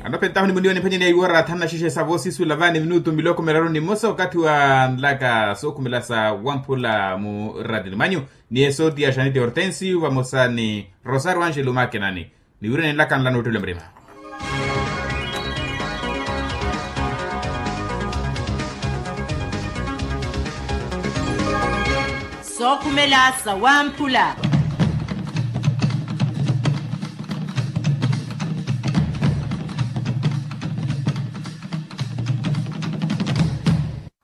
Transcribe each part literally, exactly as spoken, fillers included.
Anopentahu ni muniwa ni mphanyani ya iwora thanu na xexe sa voosisula vaani minutu miloko miraru ni mmosa okathi wa nlaka sookhumela sa wamphula mu ratini manyu. Ni esooti ya xaniti hortensio vamosa ni rosario angelo makenani. Ni wira ninlaka nla noottelwa murima. Sookhumela sa wamphula.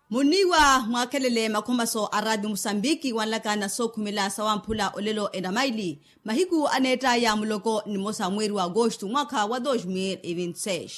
Muniiwa mwaakhelele makhomaso a raati musambiki wanlaka na sookhumela sa wamphula olelo enamaili mahiku aneettaya muloko nimosa mweeri wa agosto mwaakha wa dos mil e vinti seis.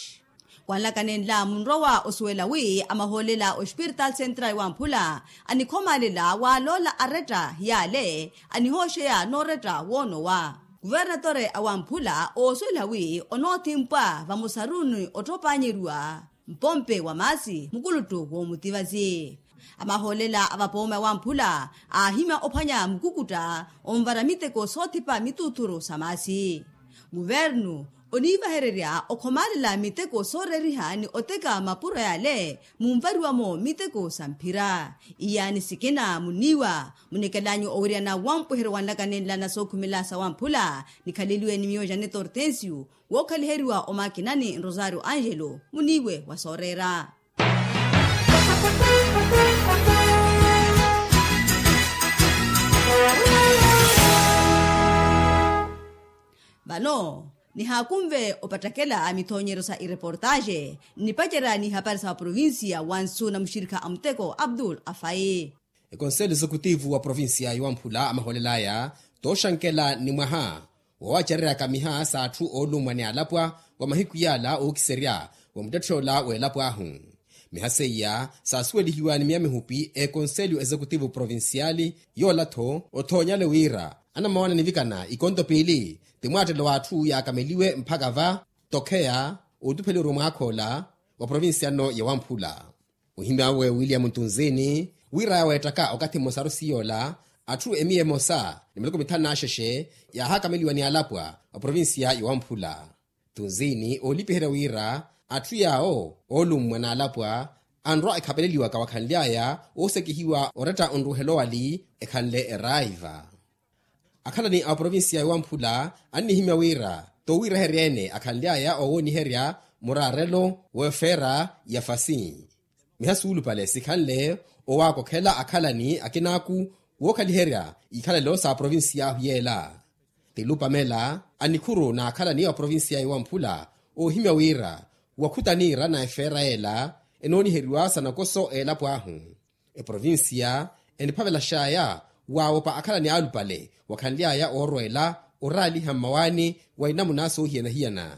Kwanlaka nenla munrowa osuwela wi amahoolela ospirtal central wamphula anikhomaalela waaloola aretta yaale anihooxeya nooretta woonowa. Kuvernatore a wamphula oosuwela wi onoothimpwa vamosa ruuni ottopaanyeriwa mpompe wa maasi mukuluttu woomutivasi. Amahoolela a vapooma wamphula aahimya ophwanya mukukutta onvara miteko soothipa mituuthuru sa maasi. Kuvernu oniivahererya okhomaalela miteko sooreeriha ni oteka mapuro yaale munvariwa-mo miteko sa mphira. Iyaani sikina muniiwa munikelanyu owiryana wampweheryo wanlaka nenla na sookhumela sa wamphula nikhaleliwe ni miyo janeto hortensio wookhaliheriwa omakinani rosario angelo muniiwe wa sooreera. Vano nihaakunve opattakela mithoonyeryo sa ireportaxe nnipacerya n'ihapari sa vaprovincia wa nsu na muxirikha a muteko abdul afai. Ekonselo exekutivu wa provincia yowamphula amahoolelaya tooxankela ni mwaha woowacereryaka miha s'atthu oolummwa ni alapwa wa mahiku yaala ookiserya wa muttetthe ola w'elapo ahu. Miha seiya saasuwelihiwa ni miya mihupi ekonselo exekutivu provinciali. Yoola-tho othoonyale wira anamawana nivikana ikonto piili ti mwaattelo w'atthu yaakameliwe mpakha va tokheya ootupheliwa mwaakha ola wa provincia nno yowamphula. Ohimya awe william tunzini wira yaaweettaka okathi mmosaru siyoola atthu emiya emosa ni miloko mithanu n'axexe yaahakameliwa ni alapwa wa provincia yowamphula. Tunzini oolipiherya wira atthu yaawo oolummwa n'alapwa anrwa ekhapeleliwaka wakhanly'aya oosekihiwa oretta onruuhela owali ekhanle eraiva. Akhalani a oprovincia yowamphula annihimya wira toowiiraherya-ene akhanly'aya oowooniherya muraarelo w'efeera ya fasi. Miha suulupale sikhanle owaakokhela akhalani akinaaku wookhaliherya ikhalelo sa provincia ahu yeela. Tilupamela a nikhuru n'akhalani a oprovincia yowamphula oohimya wira wakhutaniira na efeera yeela enooniheriwa sa nakoso a elapo ahu. Eprovincia eniphavelaxaya waawopa akhalani alupale wakhanly'aya oorweela oraaliha mmawaani wa inamuna soohiyana-hiyana.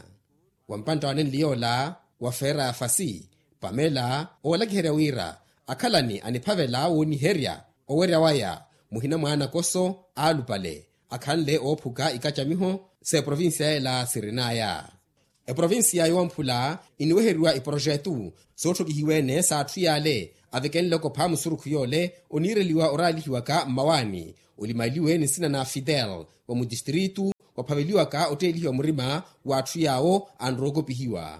Wa mpantta wa nenli yoola wa feera ya fasi pamela oolakiherya wira akhalani aniphavela wooniherya owerya waya muhina mwa anakoso alupale akhanle oophuka ikacamiho s'eprovincia yeela sirin'aya. Eprovincia yowamphula iniweheriwa iprojetu sootthokihiwa-ene s'atthu yaale avekenle okopha musurukhu yoole oniireliwa oraalihiwaka mmawaani olimaliwe ni nsina na fidel wa mutistritu waphaveliwaka otteelihiwa murima w'atthu yaawo anrowa okopihiwa.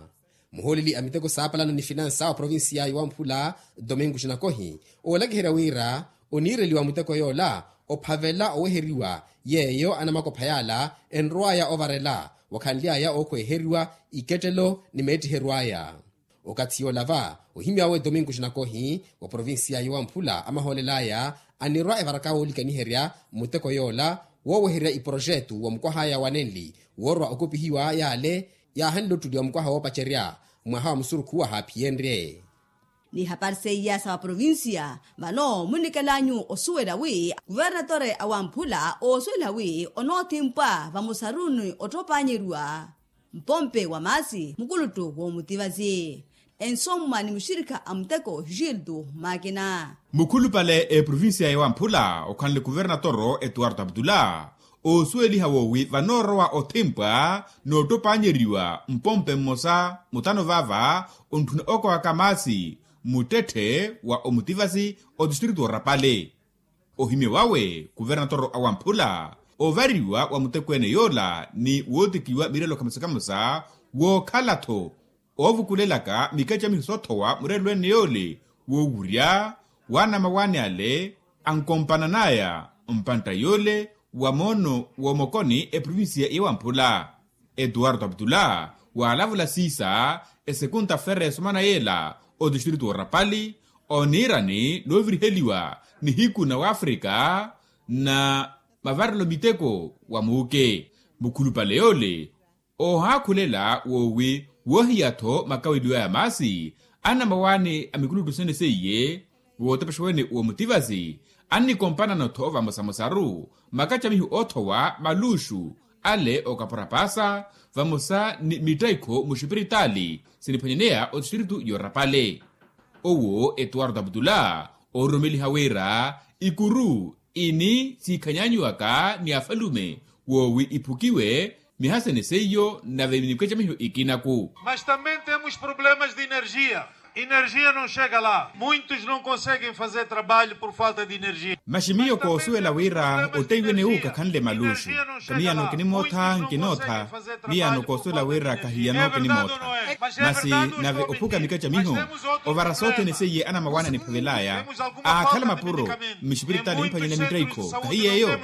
Muhooleli a miteko saapalana ni finansa wa provincia yowamphula domingo xinakohi oolakiherya wira oniireliwa muteko yoola ophavela oweheriwa yeeyo anamakopha yaala enrow'aya ovarela wakhanly'aya ookhweeheriwa ikettelo ni meettiheryo aya. Okathi yoola va ohimy'awe domingo xinakohi wa provincia yowamphula amahoolel'aya anirwa evaraka woolikaniherya muteko yoola wooweherya iprojetu wa mukwah'aya wa nenli woorwa okopihiwa yaale yaahanle ottuli wa mukwaha woopacerya mwaha wa musurukhu wahaaphiyeenrye. N'ihapari seiya sa vaprovincia vano munnikel'anyu osuwela wi kuvernatore a wamphula oosuwela wi onoothimpwa vamosa ruuni ottopaanyeriwa mpompe wa maasi mukuluttu woomutivasi. Ensomma ni muxirikha a muteko gildo makina. Mukhulupale eprovincia yowamphula okhanle kuvernatoro etuwarto abdula oosuweliha woowi vanoorowa othimpwa n'ottopaanyeriwa mpompe mmosa mutano vaava ontthuna okowaka maasi muttetthe wa omutivasi otistritu orapale. Ohimye wawe kuvernatoro awamphula ovariwa wa mutekweene yoola ni wootikiwa mirelo kamosa kamosa Wookhala-tho oovukulelaka mikacamiho soothowa mureerelo ene yoole woowurya waana mawaani ale ankompanan'aya mpantta yoole wa moono woomokoni eprovincia ya wamphula. Etuwarto aptula waalavula siisa esekunta fere esomana yeela otistritu orapali oniirani nooviriheliwa nihiku na wafrika na mavarelo miteko wa muuke mukhulupale yoole. Oohaakhulela woowi woohiya-tho makaweliwaya maasi anamawaani a mikuluttu sene seiye wootepexa wene woomutivasi annikompanano-tho vamosamosaru makacamiho oothowa maluxu ale okapura paasa vamosa ni mittaikho muxipiritaali siniphwanyaneya otistritu yorapale. Owo etuwarto aptula oororomeliha wira ikuru ini siikhanyanyiwaka ni afalume woowi iphukiwe mihasene seiyo nave mikacamiho ikinaku. Mas também temos problemas de energia. Energia não chega lá muitos não conseguem fazer trabalho por falta de energia. Maxi miyo koosuwela wira oteiwene wu kakhanle maluxu ka miyano kinimootha nkinootha. Miyano koosuwela wira kahiyano kinimootha masi nave ophuka mikacamiho ovara sothene seiye anamawaani aniphavelaya aakhala mapuro mixipiritaali mphwanyana mittaikho kahiyeeyo.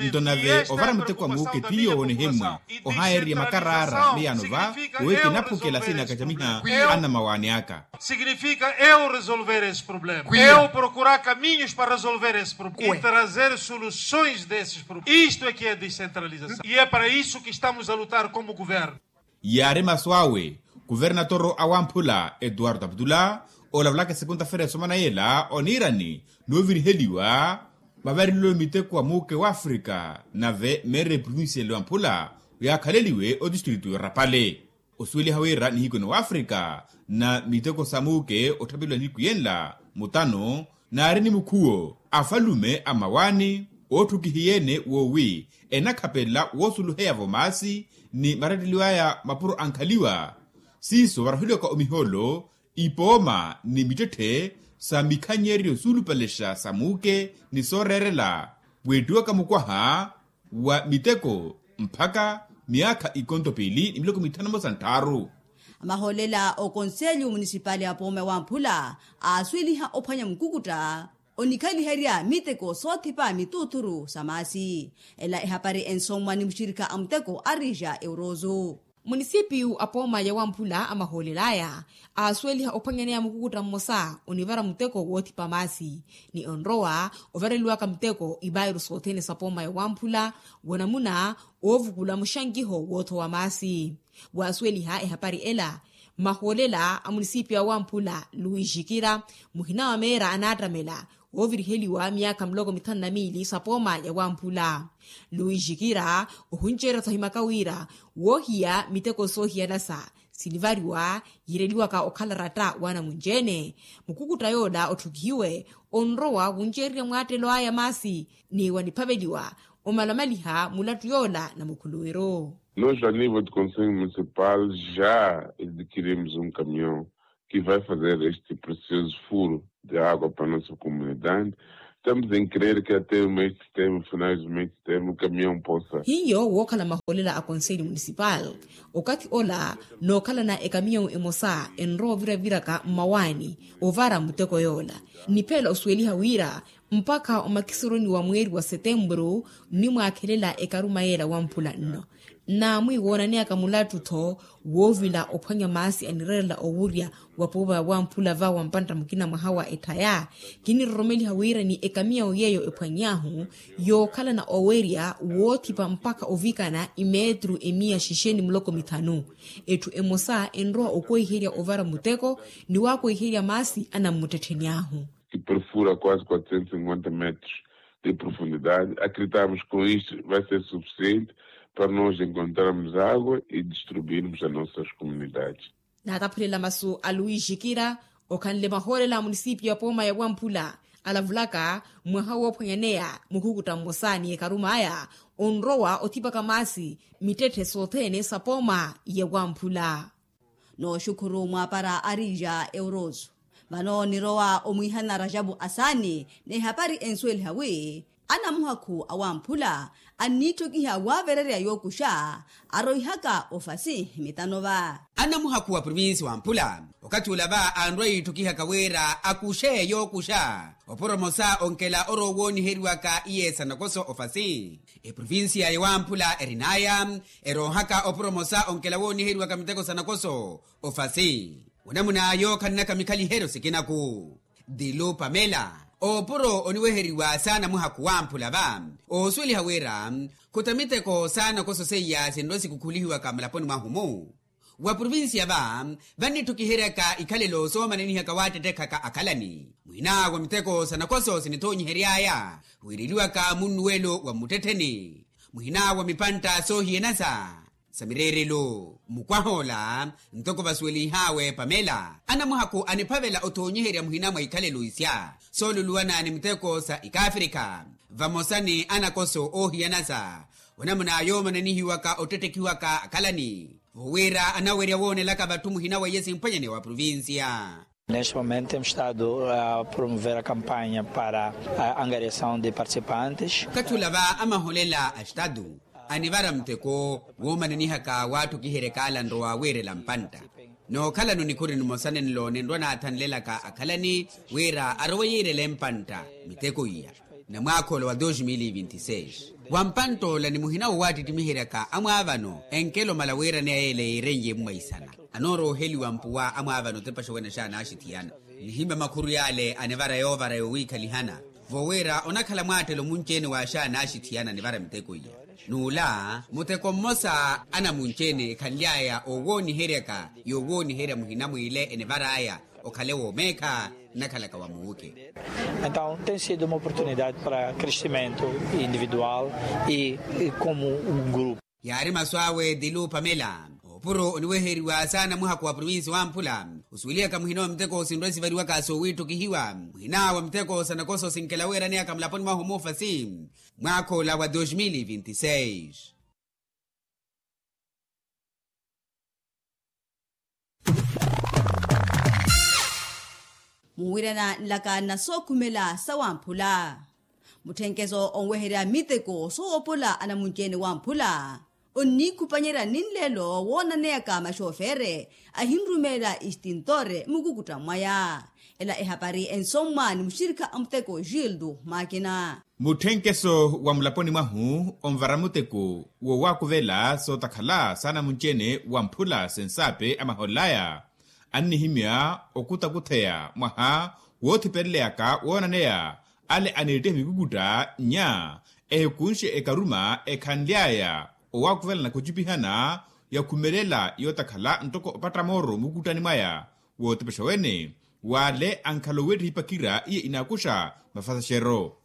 Nto nave ovara muteko wa muuke tiyo woonihimmwa ohayeererya makaraara miyano va wowi kinaphukela siina kacamiha anamawaani aka. Signifika eu resolver esse problema eu procurar caminhos para resolver esse problema e trazer soluções desses problemas isto é que é descentralização e é para isso que estamos a lutar como governo. Yaari masu awe kuvernatoro a wamphula etuwarto aptula olavulaka esekunta fere esomana yeela oniirani nooviriheliwa mavarelelo miteko wa muuke wafrika nave meera eprovincia ele wamphula oyaakhaleliwe otistritu yorapale. Osuweliha wira nihiku na wafrika na miteko sa muuke otthapeliwa nihiku yenla mutano naari ni mukhuwo afalume a mawaani ootthukihiye-ene woowi enakhapelela woosuluheya-vo maasi ni maretteliwaya mapuro ankhaliwa siiso varoheliwaka omihoolo ipooma ni mittetthe sa mikhanyeryo suulupalexa sa muuke ni sooreerela weettiwaka mukwaha wa miteko mpakha miyaakha ikonto piili ni miloko mithanu mmosa ntthaaru. Amahoolela okonselyo munisipali apooma wamphula aasuweliha ophwanya mukukutta onikhaliherya miteko soothipa mituuthuru sa maasi. Ela ehapari ensommwa ni muxirikha a muteko arija eurozo. Munisipiyu apooma ya wamphula amahoolel'aya aasuweliha ophwanyaneya mukukutta mmosa onivara muteko woothipa maasi ni onrowa ovareliwaka muteko ivairu sothene sapooma ya wamphula wa namuna oovukula muxankiho woothowa maasi. Waasuweliha ehapari ela mahoolela a munisipiyu a wamphula luwi jikira muhina wa meera anaattamela wooviriheliwa miyaakha miloko mithanu na miili sapooma ya wamphula. Luwi jikira ohunceerya-tho ahimaka wira woohiya miteko soohiyalasa sinivariwa yiireliwaka okhala ratta w'anamunci-ene mukukutta yoola otthukihiwe onrowa wunceererya mwaattelo aya maasi ni waniphaveliwa omalamaliha mulattu yoola na mukhuluwiru. Nos a nivo de conselho municipal já adquirimos um caminhão que vai fazer este precioso furo de água para nossa comunidade. Estamos em crer que até o mês de setembro finais do mês de setembro o caminhão possa. Hiyo wookhala mahoolela a konselho municipal okathi ola nookhalana ekamiyawu emosa enrowa oviraviraka mmawaani ovara muteko yoola. Niphela osuweliha wira mpakha omakisoroni wa mweeri wa setempuru nnimwaakhelela ekaruma yeela wamphula nno. Nnaamwi woonaneyaka mulattu-tho woovila ophwanya maasi anireerela owurya wa puuva ya wamphula va wampantta mukina mwaha wa etthaya. Kiniroromeliha wira ni ekamiyawu yeeyo ephwany'ahu yookhalana owerya woothipa mpakha ovikana imeetru emiya xixeni muloko mithanu. Etthu emosa enrowa okwehiherya ovara muteko ni wakwehiherya maasi anammuttettheni ahu. Que perfura quase quatrocentos e cinquenta metros de profundidade. Acreditamos que com isto vai ser suficiente para nós encontrarmos água e distribuirmos a nossas comunidades. Naataphulela masu a luwi jikira okhanle mahoolela a munisipiyu apooma ya wamphula alavulaka mwaha woophwanyaneya mukhukutta mmosa ni ekaruma aya onrowa othipaka maasi mittetthe sothene sapooma ya wamphula. Nooxukhuru mwaapara arija euroso. Vano nirowa omwiihana rajapu asaani n'ehapari ensuweliha wi Anamuhakhu awamphula anniitthokiha waavererya yookuxa aroihaka ofasi mitano va. Anamuhakhu wa provinsi wamphula okathi ula va anrwa yiitthokihaka wira akuxe yookuxa oporomosa onkela orowooniheriwaka iye sanakoso ofasi. Eprovinsiya yawamphula erinaya eroohaka oporomosa onkela wooniheriwaka miteko sanakoso ofasi. Onamuna yookhalana kamikhaliheryo sikinaku dilu pamela opuro oniweheriwa saanamuhaku wamphula va oosuweliha wira khuta miteko saanakoso seiya sinrwa sikukhulihiwaka mulaponi mwahu-mu. Wa provinsiya va vannitthukiheryaka ikhalelo soomananihaka waattettekhaka akhalani muhina wa miteko sanakoso sinithoonyiheryaya wiireliwaka munnuwelo wa mmuttettheni muhina wa mipantta soohiyanasa sa mireerelo. Mukwah'ola ntoko vasuwelinh'awe pamela anamuhakhu aniphavela othoonyiherya muhina mwa ikhalelo isya sooluluwana ni miteko sa ikaafrika vamosa ni anakoso oohiyanasa onamuna yoomananihiwaka ottettekhiwaka akhalani vowira anawerya woonelaka vatthu muhina weiye simphwanyani wa provinsiya. Neste momento temos estado a promover a campanha para a angariação de participantes. Okathi ula va amaholela a estadu anivara muteko woomananihaka waattukiheryaka alanro waawiirela mpantta nookhalano nikhuri nimosa nenlo ninrwa naathanlelaka akhalani wira arowe yiirele mpantta miteko iya. Na mwaakha ola wa dos mil e vinti seis wa mpantt'ola ni muhina wo waattittimiheryaka amwaavano enkelo mala wiiraneya yeela yiirenye mumwaisana anoorooheliwa mpuwa amwaavano otepaxa wene xaanaaxithiyana nihimya makhuru yaale anivara yoovara yowiikhalihana vowira onakhala mwaattelo munci-ene wa xaanaaxithiyana anivara miteko iya. N'ula muteko mmosa anamunci-ene ekhanly'aya owooniheryaka yowooniherya muhina mwiile enivar'aya okhale woomeekha nnakhalaka wa muuke. Então tem sido uma oportunidade para crescimento individual e como um grupo. Yaari masu awe dilu pamela opuro oniweheriwa saana muhakhu wa provinsi wamphula osuwelihaka muhina wa miteko sinrwa sivariwaka soowiitthukihiwa muhina wa miteko sa nakoso sinkela weeraneyaka mulaponi mwahu muufasi mwaakha ola wa dos mil e vinti seis. Muwirana nlaka na sookhumela sawamphula mutthenkeso onweherya miteko soowopola anamunci-ene wamphula onniikhupanyerya ni nlelo woonaneyaka maxofere ahinrumeela extintore mukukutta mwaya. Ela ehapari ensommwa ni muxirikha a muteko gildo makina. Mutthenkeso wa mulaponi mwahu onvara muteko wowaakuvela sootakhala saana munci-ene wamphula sensaape amahol'aya annihimya okutakutheya mwaha woothipeleleyaka woonaneya ale aneettiha mikukutta nya ehikunxe ekaruma ekhanly'aya owaakuvelanaka ocipihana yakhumelela yootakhala ntoko opatta mooro mukuttani mwaya wootepexa wene w'ale ankhala oweettiha ipakhira iye inaakuxa mafasaxero.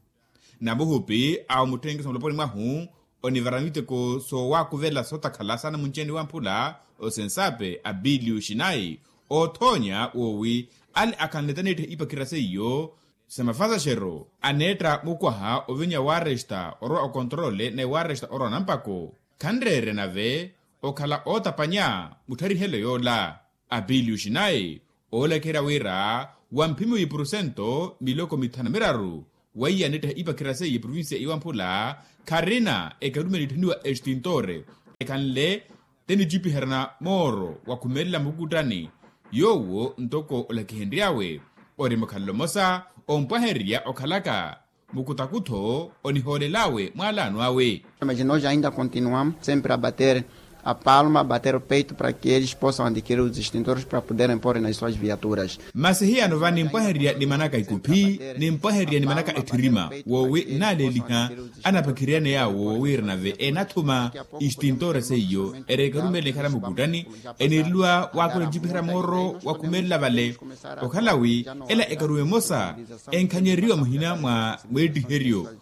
Namuhupi awo mutthenkeso muloponi mwahu onivara miteko soowaakuvela sootakhala saana munci-ene wamphula osensaape abilio xinayi oothoonya woowi ale akhanlete aneettiha ipakhira seiyo sa mafasaxero aneetta mukwaha ovinya waaresta orwa okontrole ni waaresta orwa nampako khanreerya nave okhala ootapanya muttharihelyo yoola. Abilio xinayi oolakiherya wira wa mphimi wa ipurusento miloko mithanu miraru weiya aneettiha ipakhira seiye provincia iwamphula kharina ekarumeli itthaniwa extintore ekhanle tenicipiherana mooro wakhumelela mukukuttani. Yoowo ntoko olakihenry'awe ori mukhalelo mmosa ompwahererya okhalaka mukutakutho onihoolel'awe mwaalaano awe. Mas nós ainda continuamos sempre a bater a palma bater o peito para que eles possam adquirir os extintores para poderem pôr nas suas viaturas. Masi hiyano va nimpwahererya nimanaka ikuphi nimpwahererya nimanaka etthirima woowi nnaaleeliha anapakhiryane yaawo wira nave enathuma extintore seiyo eri ekarumelela ekhala mukuttani eniireliwa waakhula ncipiherya mooro wakhumelela vale okhala wi ela ekarume emosa enkhanyeriwa muhina mwa mweettiheryo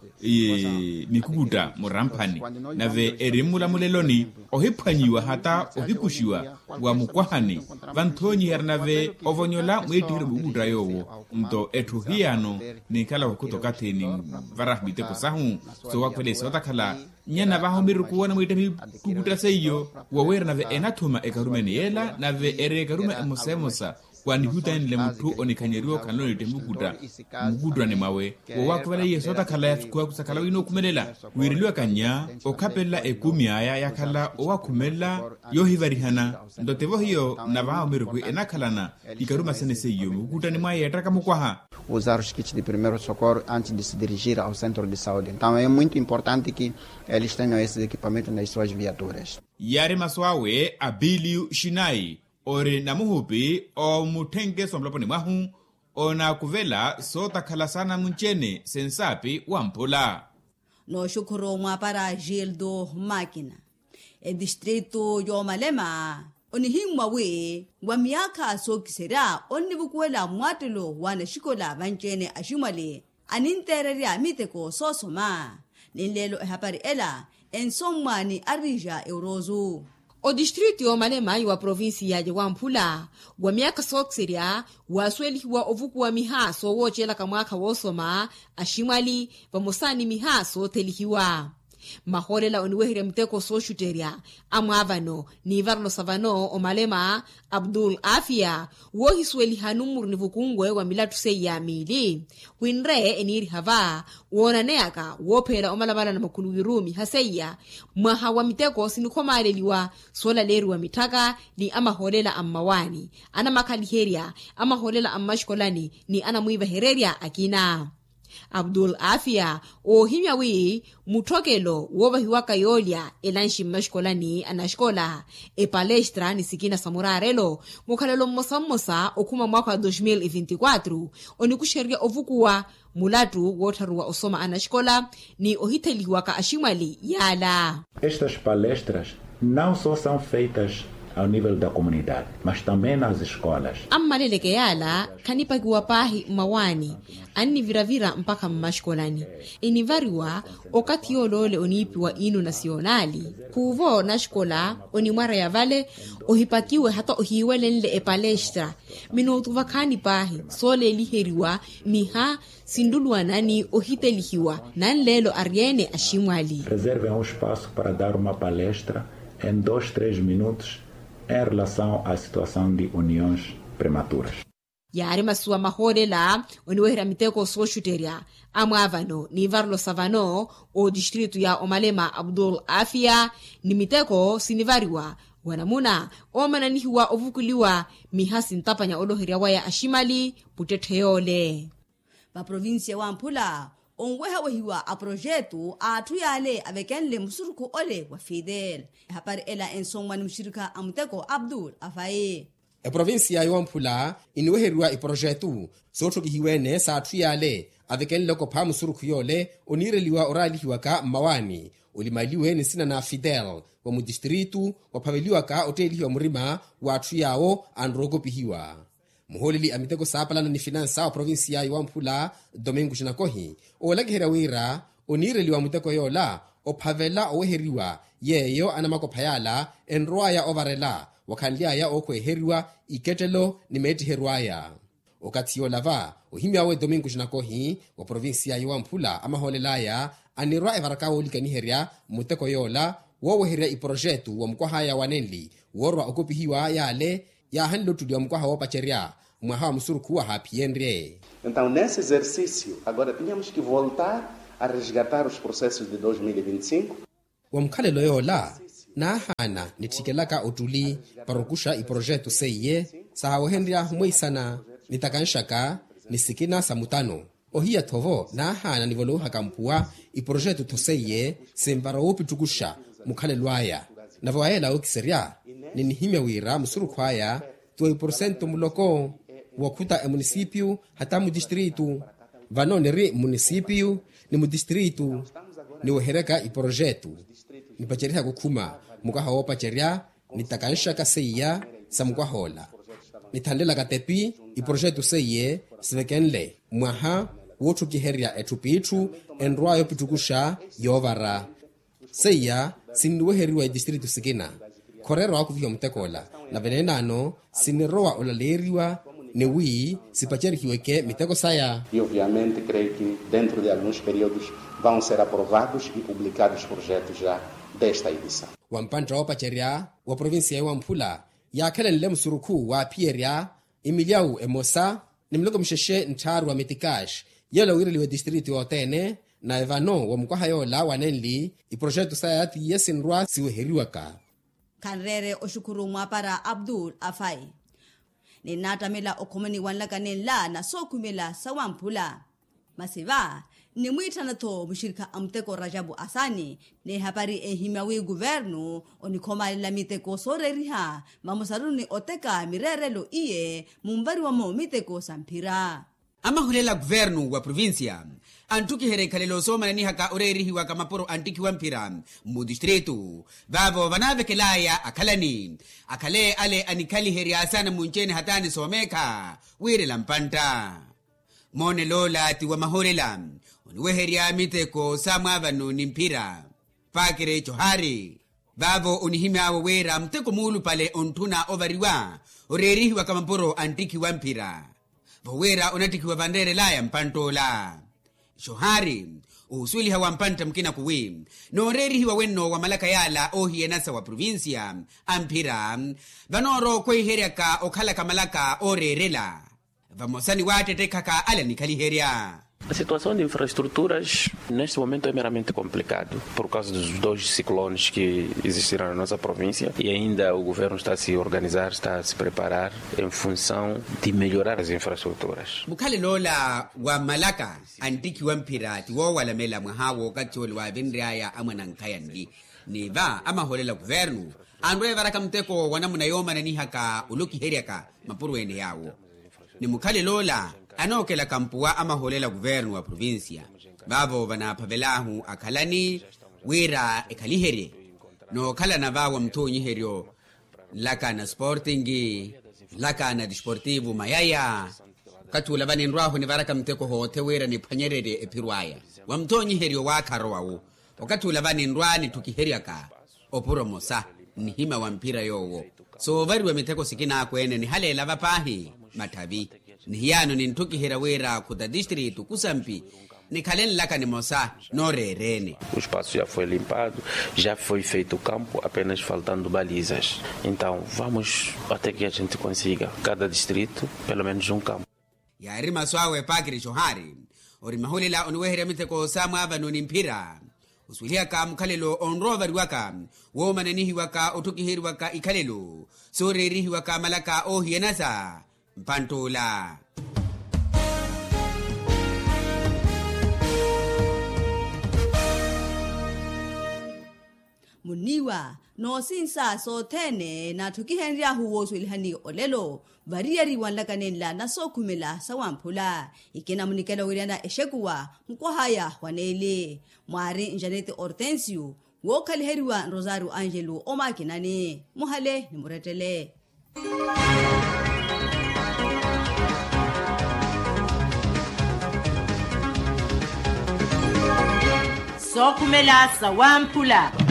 mikukutta muramphani nave eri mmulamuleloni ohiphwanyiwa hata ohikuxiwa wa mukwahani vanthoonyiherya nave ovonyola mweettiheryo mukukutta yoowo nto etthu hiyano ninkhala wakhuta okathi ninvarahu miteko sahu soowakhwelesa otakhala nyana vaho miruku woona mwiittari kukutta seiyo wowiira nave enathuma ekarumeni yeela nave eri ekaruma emosa emosa Wanihutanile mutthu onikhanyeriwa okhanle onittehe mukutta mukutturani mwawe, wowakhuvela iye sootakhala yasukhuwaku sakhala winookhumelela. Wiireliwaka nnya okhapelela ekumi aya yakhala owakhumelela yoohivarihana. Nto tivo hiyo navaha omirukwi enakhalana ikaruma sene seiyo mukutturani mwaye yeettaka mukwaha. Usar os kits de primeiro socorro antes de se dirigir ao centro de saúde. Então é muito importante que eles tenham esses equipamentos nas suas viaturas. Yaari masu awe abilio xinayi ori namuhupi omutthenkeso muloponi mwahu. Onaakuvela sootakhala saana munci-ene sensaapi wamphula. Nooxukhuru mwaapara gildo makina. Etistritu yoomalema onihimmwa wi wa miyaakha sookiserya onnivukuwela mmwaattelo w'anaxikola vanci-ene aximwali aninteererya miteko soosoma. Ninleelo ehapari ela ensommwa ni arija eurozu. Otistritu yoomalema wa provincia ya wamphula wa miyaakha sookiserya waasuwelihiwa ovukuwa miha soowoocelaka mwaakha woosoma aximwali vamosa ni miha soothelihiwa. Mahoolela oniweherya miteko sooxutterya amwaavano n'ivarelo sa vano omalema abdul afia woohisuweliha nummuru ni vukunwe wa milattu seiya miili. Winre eniiriha va woonaneyaka woopheela omalamalana makhuluwiru miha seiya mwaha wa miteko sinikhomaaleliwa soolaleeriwa mitthaka ni amahoolela a mmawaani anamakhaliherya amahoolela a mmaxikolani ni anamwiivahererya akina. Abdul afia oohimya wi mutthokelo woovahiwaka yoolya elanxi mmaxikolani anaxikola epalestra ni sikina sa muraarelo mukhalelo mmosa mmosa okhuma mwaakha wa dos mil e vinti quatro onikuxererya ovukuwa mulattu woottharuwa osoma anaxikola ni ohithelihiwaka aximwali yaala. Estas palestras não só são feitas ao nível da comunidade mas também nas escolas. Ammaleleke yaala khanipakiwa paahi mmawaani anniviravira mpakha mmaxikolani enivariwa okathi yooloole oniipiwa ino nasionali khuuvo naxikola onimwareya vale ohipakiwe hata ohiiwelenle epalestra. Minutu vakhaani paahi sooleeliheriwa miha sinluluwana ni ohitelihiwa nanleelo ari-ene aximwali. Reservem um espaço para dar uma palestra em dois três minutos em relação à situação de uniões prematuras. Yaari masuwa mahoolela oniweherya miteko sooxutterya amwaavano n'ivarelo sa vano otistritu ya omalema abdul afia ni miteko sinivariwa wanamuna oomananihiwa ovukuliwa miha sintapanya oloherya waya aximali puttetthe yoole. Vaprovincia wamphula onwehawehiwa aprojetu a atthu yaale avekenle musurukhu ole wa fidel. Ehapari ela ensomwa ni muxirikha a muteko abdul avayi. Eprovincia yowamphula iniweheriwa iprojetu sootthokihiwene sa atthu yaale avekenle okopha musurukhu yoole oniireliwa oraalihiwaka mmawaani olimaliwe ni nsina na fidel wa mutistritu waphaveliwaka otteelihiwa murima wa atthu yaawo anrowa okopihiwa. Muhooleli a miteko saapalana ni finansa wa provincia yowamphula domingo xinakohi oolakiherya wira oniireliwa muteko yoola ophavela oweheriwa yeeyo anamakopha yaala enrow'aya ovarela wakhanly'aya ookhweeheriwa ikettelo ni meettiheryo aya. Okathi yoola va ohimy'awe domingo xinakohi wa provincia yowamphula amahoolel'aya anirwa evaraka woolikaniherya muteko yoola wooweherya iprojetu wa mukwah'aya wa nenli woorwa okopihiwa yaale yaahanle ottuliwa mukwaha woopacerya mwaha wa musurukhu wahaaphiyenrye. Então nesse exercício agora tínhamos que voltar a resgatar os processos de dois mil e vinte e cinco. Wa mukhalelo yoola naahaana nitthikelaka ottuli para okuxa iprojetu seiye saawehenrya mweisana ni takanxaka ni sikina sa mutano. Ohiya-tho vo naahaana nivolouhaka mpuwa iprojetu-tho seiye sinvara woopittukuxa mukhalelo aya. Nave wa yeela wookiserya ninihimya wira musurukhu aya ti wa iporsentu muloko wokhuta emunisipiyu hata mutistritu. Vano niri mmunisipiyu ni mutistritu niweheryaka iprojetu nipaceryihaka okhuma mukwaha woopacerya ni takanxaka seiya sa mukwah'ola nithanlelaka tepi iprojetu seiye sivekenle mwaha wootthukiherya etthu p'itthu enrw'aya opittukuxa yoovara. Seiya sinniweheriwa etistritu sikina khoreerwa waakupihiwa mutek'ola nave neenano sinirowa olaleeriwa ni wi sipacerihiweke miteko saya. E obviamente creio que dentro de alguns períodos vão ser aprovados e publicados projetos já desta edição. Wa mpantta woopacerya wa provincia yowamphula yaakhelenle musurukhu waaphiyerya Imilyawu emosa ni miloko mixexe nttharu wa mitikaxi, yola wiireliwa etistritu yothene. Naye vano wa mukwaha yola wanenli iproxeto saya tiye sinrwa siweheriwaka. Khanreere oxukhuru mwaapara abdul afai. Ninnaattamela okhomani wanlaka nenla na sookhumela sawamphula. Masi va nnimwiitthana-tho muxirikha a muteko rajapu asani, n'ehapari enhimya wi kuvernu onikhomalela miteko sooreeriha vamosaru ni oteka mireerelo iye munvariwa-mo miteko sa mphira. Amahulela kuvernu wa provincia antthukiherya ikhalelo soomananihaka oreerihiwaka mapuro a nttikhi wa mphira mmutistritu. Vaavo vanaavekelaya akhalani akhale ale anikhaliherya saana munci-ene hata anisoomeekha wiirela mpantta. Moonel'ola ti wa mahulela oniweherya miteko sa mwaavano ni mphira. Pakiri eco haari vaavo onihimy'awe wira muteko muulupale ontthuna ovariwa oreerihiwaka mapuro a nttikhi wa mphira. Vo wira onattikhiwa vanreerel'aya mpantt'ola. Iso haari ohusuweliha wa mpantta mukina kuwi nooreerihiwa wenno wa malaka y'ala oohiyanasa wa provincia a mphira vanoorowa okhweiheryaka okhalaka malaka ooreerela. Vamosa ni waattettekhaka ale anikhaliherya. A situação de infraestruturas neste momento é meramente complicado por causa dos dois ciclones que existiram na nossa província e ainda o governo está a se organizar, está a se preparar em função de melhorar as infraestruturas. Mukhalel'ola wa malaka a nttikhi wa mphira ti woowalamela mwaha w'okathi ole waavinry'aya amwanankhaya nli ni va amahoolela kuvernu anrwa evaraka muteko wa namuna yoomananihaka olokiheryaka mapuro ene yaawo. Ni mukhalel'ola anookelaka mpuwa amahoolela kuvernu wa provincia vaavo vanaaphavel'ahu akhalani wira ekhaliherye nookhalana va wa muthoonyiheryo nlaka na sporting nlaka na disportivo mayaya. Okathi ula vaninrw'ahu nivaraka muteko hoothe wira niphwanyererye ephiro aya wa muthoonyiheryo waakharo wawu. Okathi ula vaninrwa nitthukiheryaka opuro mosa nnihimya wa mphira yoowo soovariwa mitheko sikina akweene nihaleela va paahi matthavi. Ni hiyaano ninttukiherya wira khuta tistritu kusampi nikhale nlaka nimosa nooreereene. O espaço já foi limpado, já foi feito o campo apenas faltando balizas. Então vamos até que a gente consiga cada distrito pelo menos um campo. Yaari masu awe epakiri xohaari ori mahulela oniweherya mitheko sa mwaavano ni mphira osuwelihaka mukhalelo onrowa ovariwaka woomananihiwaka otthukiheriwaka ikhalelo sooreerihiwaka malaka oohiyanasa mpantt'ula. Muniiwa noosinsa sothene naatthukihenry'ahu woosuwelihani olelo variyari wanlaka nenla na sookhumela sawamphula. Ikina munikela wiiriyana exekuwa mukwah'aya wa neeli mwaari njaneti hortensio wookhaliheriwa nrosario angelo omaakinani muhale ni murettele. Sookhumela sawamphula.